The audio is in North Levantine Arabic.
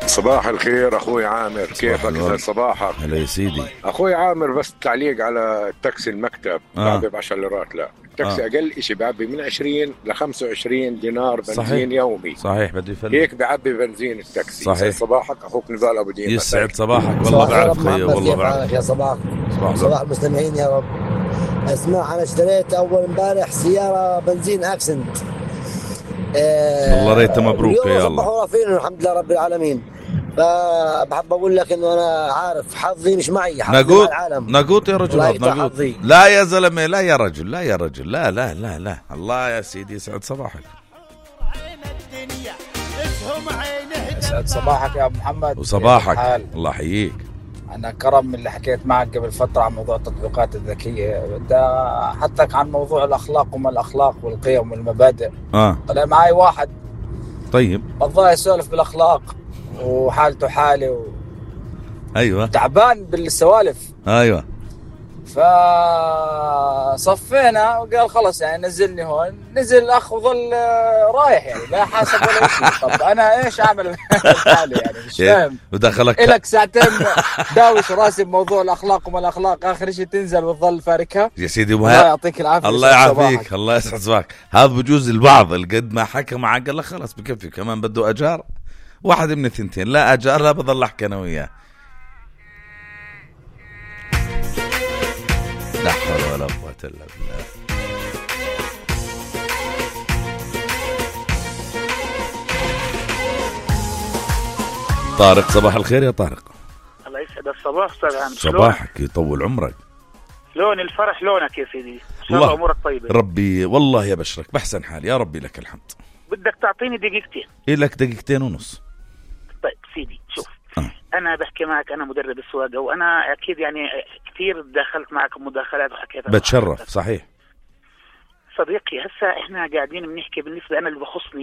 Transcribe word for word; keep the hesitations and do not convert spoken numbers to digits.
صباح الخير اخوي عامر، كيفك؟ صباحك. هلا يا سيدي اخوي عامر، بس تعليق على التاكسي المكتب. آه. بعبي بعشر ليرات. لا التاكسي آه. اقل اشي بعبي من عشرين ل خمسة وعشرين دينار بنزين. صحيح. يومي. صحيح بده يفلت هيك بعبي بنزين التاكسي. صحيح. صباحك اخوك نضال ابو دين. يسعد صباحك. والله بعرف خير، والله بعرف يا صباح صباح, صباح المستمعين يا رب. اسمع، انا اشتريت اول امبارح سياره بنزين اكسنت. أه الله ريته مبروك يا الله. الحمد لله رب العالمين. فبحب اقول لك انه انا عارف حظي مش معي، حظي نقوط مع العالم. نقوط يا رجل، نقوط. لا يا زلمه، لا يا رجل، لا يا رجل، لا لا لا لا. الله يا سيدي يسعد صباحك. يسعد صباحك يا ابو محمد. وصباحك. الله يحييك. انا كرم من اللي حكيت معك قبل فتره عن موضوع التطبيقات الذكيه، بدي احثك عن موضوع الاخلاق وما الاخلاق والقيم والمبادئ. اه طلع معي واحد طيب والله يسولف بالاخلاق وحالته حالي و... ايوه تعبان بالسوالف. ايوه فصفينا وقال خلص يعني نزلني هون. نزل الاخ وظل رايح يعني لا حاسب ولا شيء. طب انا ايش اعمل بحالي يعني مش فاهم. ودخلك لك ساعتين داوش راسي بموضوع الاخلاق وما الاخلاق، اخر شيء تنزل وتظل فاركها يا سيدي. الله يعطيك العافيه. الله يعافيك. الله يسعد صباحك. هذا بجوز البعض القد ما حكى معك قال لك خلص بكفي، كمان بده اجار واحد من الثنتين. لا اجار لا بضل احكي انا وياه. لا حول ولا قوة إلا بالله. طارق صباح الخير يا طارق. الله يسعد الصباح استاذ عامر. صباحك يطول عمرك. لون الفرح لونك يا سيدي، ان شاء الله امورك طيبه. ربي والله يبشرك بحسن حال يا ربي، لك الحمد. بدك تعطيني دقيقتين؟ إيه لك دقيقتين ونص. طيب سيدي شوف أه. انا بحكي معك، انا مدرب السواقه وانا اكيد يعني كثير دخلت معك مداخلات وحكيت. بتشرف. صحيح صديقي. هسا احنا قاعدين بنحكي بالنسبه انا اللي بخصني